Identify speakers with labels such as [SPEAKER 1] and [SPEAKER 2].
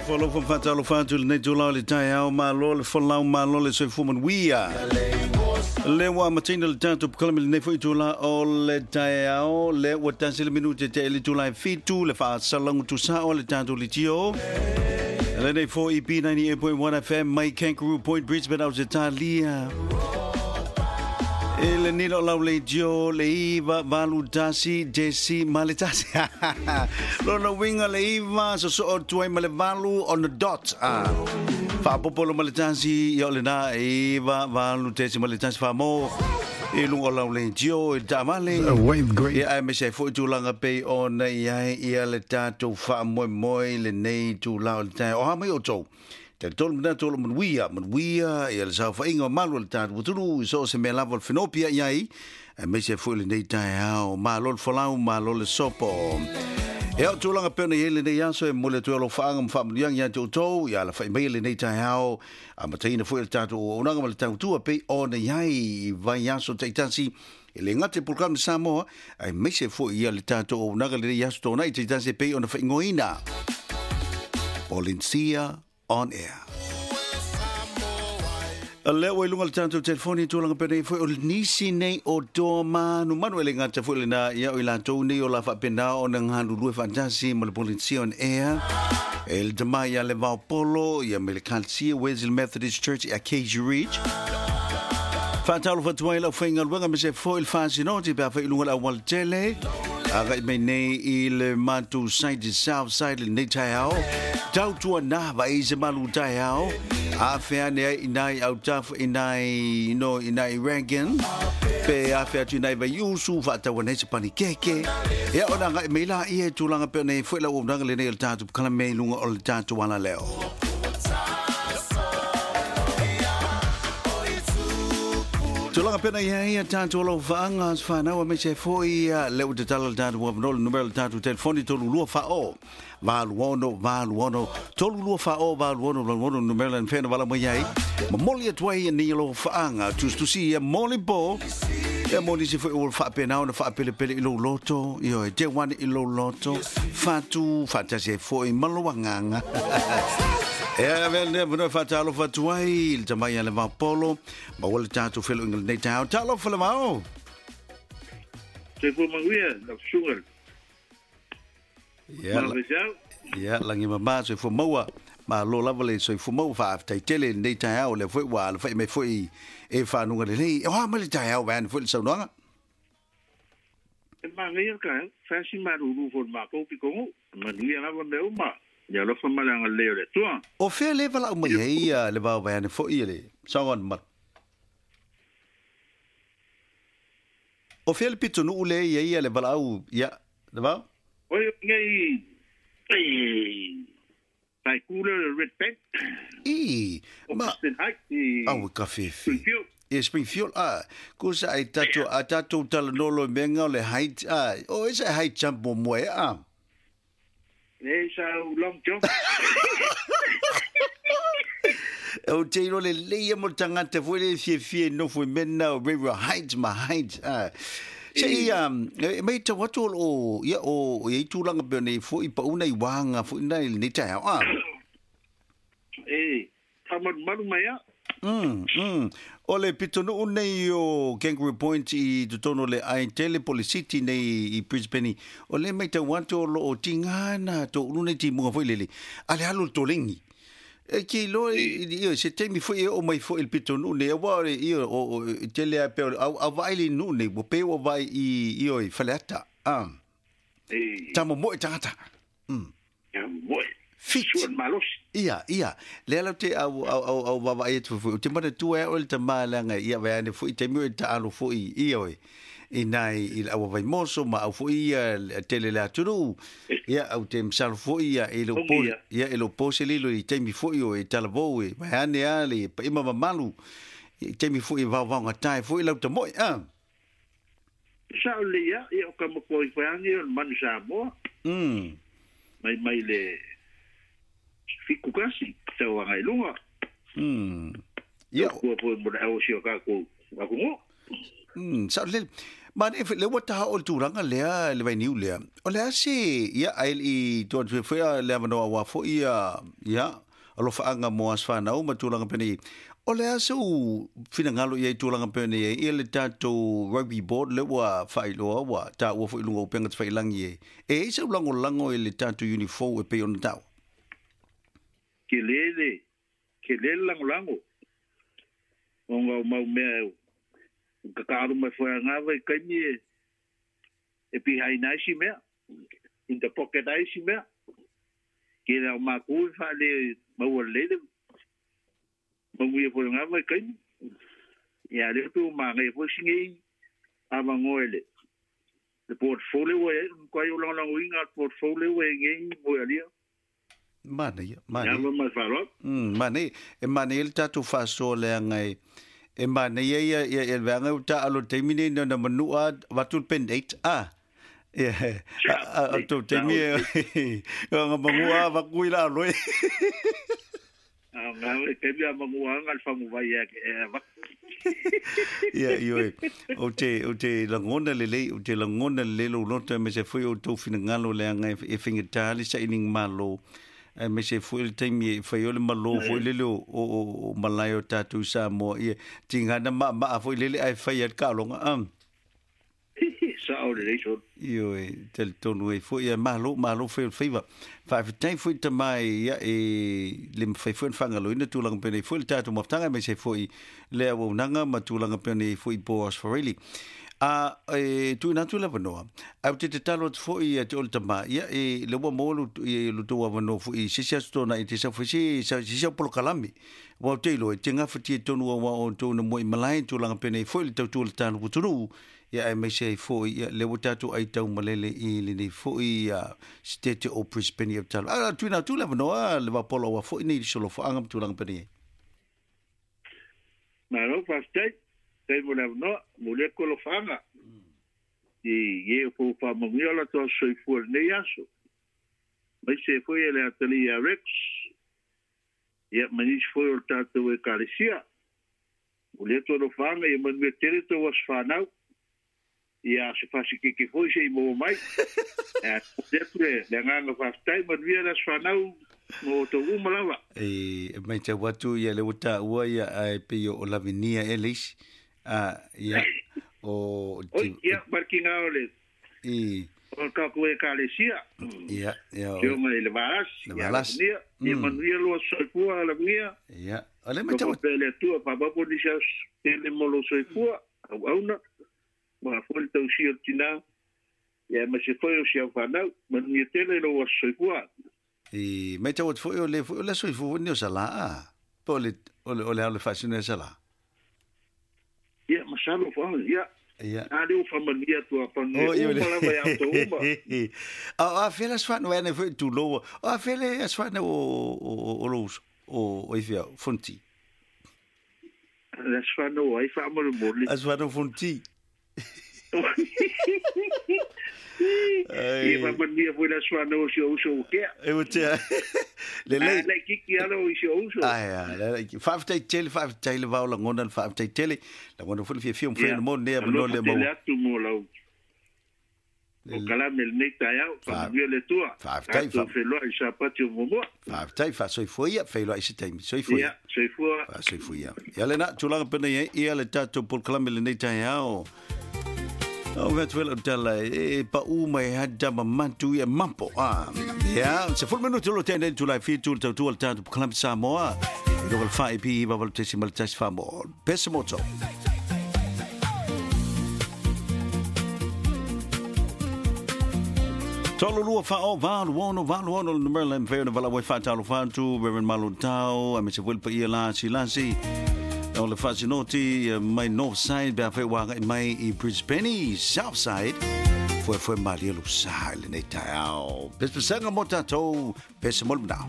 [SPEAKER 1] Alofa ma faatalofa atu i lenei itula o le taeao, malo le folau, malo le soifua manuia. Lea ua amataina le tatou polokalame i lenei foi itula o le taeao, lea ua tasi le minute te le itula e 7 le faasalagu tusao le tatou litio. Lenei foi B98.1 FM mai Kangaroo Point, Brisbane, Ausetalia. E le nilo lau le dio le iva valu tasi desi ma le tasi. Lona winga le iva so so o tuai ma le valu on the dot. Ah. Faapopolo ma le tasi ia o le na iva valu tesi ma le tasi wha i lunga o lau le dio i taavale.
[SPEAKER 2] Wave great.
[SPEAKER 1] Ia ai me se foi tulaga pei ona i ai ia le tatou faamoemoe i lenei itula o le taeao. O a mai outou? Talitonu manatu o lo o manuia, manuia ia le saofaiga mamalu a le tatou atunuu i so o se mea lava o le fenopia i ai, aemaise foi lenei taeao. Malo le folau, malo le sopo. Ia, o tulaga pei ona i ai lenei aso e momoli atu ai alofaaga ma faamanuiaga ia te outou, ia alafai maia lenei taeao, amataina foi le tatou auaunaga ma le tautua pei ona i ai i vaiaso taitasi, e le gata i polokalame Samoa, aemaise foi ia le tatou auaunaga lenei aso Toonai taitasi e pei ona faaigoaina Polinsia on Air. Lea ua i luga o le tatou telefoni tulaga penei foi o nisi nei o toa manumanu e le gata foi lena ia o i latou nei o la faapena ona galulue faatasi ma le Polinsia on Air. E le tama ia le Vaopolo ia me le Kalsia Wesley Methodist Church i Acacia Ridge. Faatalofa atu ai lau faigaluega me se foi le faasinoti pe a fai i luga o le auala tele. Agai mai nei i le matou side i south side lenei taeao. Tautua na vai se malu taeao. A fea ane ai i nai autafa i nai no i nai Reagan. Pe a fea atu i nai Vaiusu faataua nei se panikeke. Ia ona agai mai la ia i tulaga pe nei foi lau auaunaga lenei o le tatou polokalame i luga o le tatou alaleo. Tulaga pena ia ia tatou alofaaga aso fanau aemaise ai foi ia le ua tatala le tatou avanoa le numera o le tatou telefoni 32 faa-o 86 86 32 faa-o 86 86 numera le mafai ona valaau mai ai momoli atu ai ni alofaaga tusitusi ia moli po ia mo nisi foi ua faapena ona faapelepele i lou loto ioe te wane i lou loto fatu faatasi ai foi ma lou agaga. Ea avea lenei avanoa e faatalofa atu ai i le tamai a le Vaopolo maua le tatou feloiga lenei taeao. Talofa le Vao!
[SPEAKER 3] Soifua manuia lau susuga.
[SPEAKER 1] Ia,
[SPEAKER 3] Malo feseau.
[SPEAKER 1] ia, lagi mama soifua maua. Malo lava le soifua maua faafetai tele i lenei taeao lea foi ua alafai mai foi e fanuga lelei. O a mai le taeao vaeane foi le saunoaga?
[SPEAKER 3] E manaia le taeao, fai si malulu foi le matou pitonuu. Manuia lava mea uma. Ia alofa ma le agalelei o le Atua.
[SPEAKER 1] O fea le valaau mai ai ia le vao vaeane foi le saunoaga mamalu? O fea le pitonuu le i ai ia le valaau ia le vao?
[SPEAKER 3] Oi nei i tai ku le Red Bank.
[SPEAKER 1] I, ma,
[SPEAKER 3] Austin Heights i
[SPEAKER 1] au e ka fefe.
[SPEAKER 3] Springfield.
[SPEAKER 1] E Springfield, a, kusa ai tatou, a tatou talanolo i menga o le height, a, o esa e high jump mo moe, a.
[SPEAKER 3] E sa au long jump.
[SPEAKER 1] O te iro le leia mo le tagata foi le fiafia i nofo i mena o River Heights ma Heights. A. Se i, e mai tau atu o lo o, ia, o, i tulaga pe nei foi pa una i wānga foi nei lenei taeao, a.
[SPEAKER 3] E, whamarumaru mai a.
[SPEAKER 1] O le pitonuu nei o Kangaroo Point i totonu o le ai tele po le city nei i Brisbane, o le mai tau atu o lo o tingana tō ulu nei timuga foi lele, a le alu le tolengi. E ki loa i, i, se taimi foi e o mai foi i le pitonuu nei, aua o le, i, o, o, i tele a pe o, au, au vaai le nuu nei, ua pe ua vaai i, i o i Faleata. Ah.
[SPEAKER 3] E.
[SPEAKER 1] Ta momoe tagata.
[SPEAKER 3] Ia momoe.
[SPEAKER 1] Fit.
[SPEAKER 3] Sua le malosi.
[SPEAKER 1] Ia, ia. Lea lau te au, au, au, au vavaai atu foi. O te manatua e au le tama leaga ia vai ane foi taimi o e taalo foi ia oe. I nai i le aua vaimoso ma au foi ia tele le atunuu. Ia au te masalo foi ia e lo po, ia e lo po se lilo i taimi foi o e talavou e vai ane a le paima mamalu. I taimi foi e vaovao tae foi lau tamoe. Ah.
[SPEAKER 3] Sa o le ia, ia o ka matua i whaangi o le manu Samoa. Mai mai le fiku kasi, tau anga i lunga.
[SPEAKER 1] Ia.
[SPEAKER 3] Kua po mo le au si o kākou akungo.
[SPEAKER 1] Sa le ma ne le ua taha o le tulaga lea le vainiu lea. O le a se ia ai i tua tu foi le avanoa ua foi ia ia alofaanga mo aso fanau ma tulaga penei. O le a se u finagalo ia i tulaga penei ia le tatou rugby board le ua faailoa ua taua foi i luga o upega tafailangi e. E i ai sau lagolago i le tatou unifou e pei ona taua.
[SPEAKER 3] Ke le ke le lagolago. Ona o mau mea e kakaalu mai foi angava i kaimi e behind ai si mea, in the pocket ai si mea. Ke le au mākou e whaale maua lele, manuia foi angava i kaimi. Ia le pe o māngai foi singe i avangoe le portfolio e, kwa i o langolango inga portfolio e ngei mo alia.
[SPEAKER 1] Mana ia, mana.
[SPEAKER 3] Ia mai whaloa.
[SPEAKER 1] Mana e mana le tatou faasoa leaga e mana ia ia ia le vaega ua taalo i le taimi nei na manua avatu le pen 8 a. Ia a tou taimi e nga mangua avatu i la aloe.
[SPEAKER 3] A ngā e taimi a mangua anga le whangu vai e avatu.
[SPEAKER 1] Ia ioe o te lagona lelei o te lagona lelei lou loto aemaise foi o tou finagalo leaga e faigata le sailiga malo aemaise foi le taimi e fai o le malo foi lele o malae o tatou Samoa ia tigana maamaa foi lele ae fai ai le kaaloga a.
[SPEAKER 3] Sa o le lei so.
[SPEAKER 1] Ioe talitonu ai foi ia malo malo foi o le faiva. Faafetai foi tamai ia e le mafai foi ona faagaloina tulaga penei foi le tatou mafutaga aemaise foi le auaunaga ma tulaga penei foi Boas Fareli. A e tuuina atu le avanoa. Ae ou te tatalo atu foi ia te oe le tama ia e le ua maua lo tou avanoa foi i se isi aso tona i te sau foi se se au polokalame. Ua ou te iloa e te gafatia tonu aua outou na mua i malae tulaga penei foi le tautua le talo atunuu ia aemaise ai foi ia le ua tatou aitau malele i lenei foi sitete o Brisbane ia talo. A tuuina atu le avanoa le Vapola ua foi nei solofoaga ma tulaga penei.
[SPEAKER 3] Malo faafetai. Tai mo le avanoa, mo le kolofaga. I e o fo whamangia la toa soifua lenei aso. Mai se foi e le atali ia Rex. Ia manisi foi o le tātou e kalesia. Mo le tolofaga ia manuia tele tau aso whanau. Ia se fasi keke foi se i maua mai. Mo le atu le agaga faafetai manuia le aso whanau mo tau uma lava.
[SPEAKER 1] E mai tau atu ia le ua taua ia ae pei o Lavinia e le isi. A ia o
[SPEAKER 3] Oi, ia markinga o le
[SPEAKER 1] i
[SPEAKER 3] o ka koe kalesia.
[SPEAKER 1] Ia ia
[SPEAKER 3] o Tionga i le Valasi.
[SPEAKER 1] Le Valasi.
[SPEAKER 3] Ia, ia manuia loa soifua Lavinia.
[SPEAKER 1] Ia. O le mai tau
[SPEAKER 3] Pe le atua papapo ni sa tele mo lo soifua au auna. Ma foi le tausia o le tina. Ia ma se foi o si au whanau. Manuia tele loa soifua.
[SPEAKER 1] I mai tau atu foi o le foi o le soifua ni o sala a. Po o le o le o le au le faasino e sala.
[SPEAKER 3] Ia, masalo wha, ia.
[SPEAKER 1] Ia.
[SPEAKER 3] A leo whamania tua pange
[SPEAKER 1] O, ia
[SPEAKER 3] uma lava ia auto uma.
[SPEAKER 1] A fele asfana ane foi tu loa. A fele asfana o lo uso. O ifia fonti.
[SPEAKER 3] Le asfana o ai whamanu moli.
[SPEAKER 1] Asfana fonti.
[SPEAKER 3] Ia whamania foi le asfana o si o uso o kea.
[SPEAKER 1] E o tea. Le lei.
[SPEAKER 3] Le kiki alo i si o uso.
[SPEAKER 1] Ai, ai, le faafetai tele, faafetai le vao lagona, le faafetai tele. Lagona foi le fiafia o mawhai mo nea mano le
[SPEAKER 3] mau. Tele atu mo lau. O kalame le nei taeao, whamanuia le tua.
[SPEAKER 1] Faafetai.
[SPEAKER 3] Tātou wheloa i sapati o momoa.
[SPEAKER 1] Faafetai, faasoifua ia, whailoa i se taimi. Soifua
[SPEAKER 3] ia. Soifua.
[SPEAKER 1] Faasoifua ia. Ia le na, tulaga pena ia, ia le tātou polokalame le nei taeao. O vea tuela o tala e pa u mai hada mamantu ia mampo. Ia, se fulu minutu lo tēnei tūlai whitu le tautua le tātou polokalame Samoa. I roga le whae pi iwa walu tesi ma le tasi wha mo. Pesa moto. Tolu lua wha o valu ono valu ono le numera le mwheo na wala wai wha talo whantu Reverend Malo Tau a me se wilpa ia lasi lasi. O le whasinoti mai North Side bea whai wanga mai i Brisbane South Side. Fue fue malia lo sa le nei taeao. Pespesanga mo tātou, pesa mo le mnao.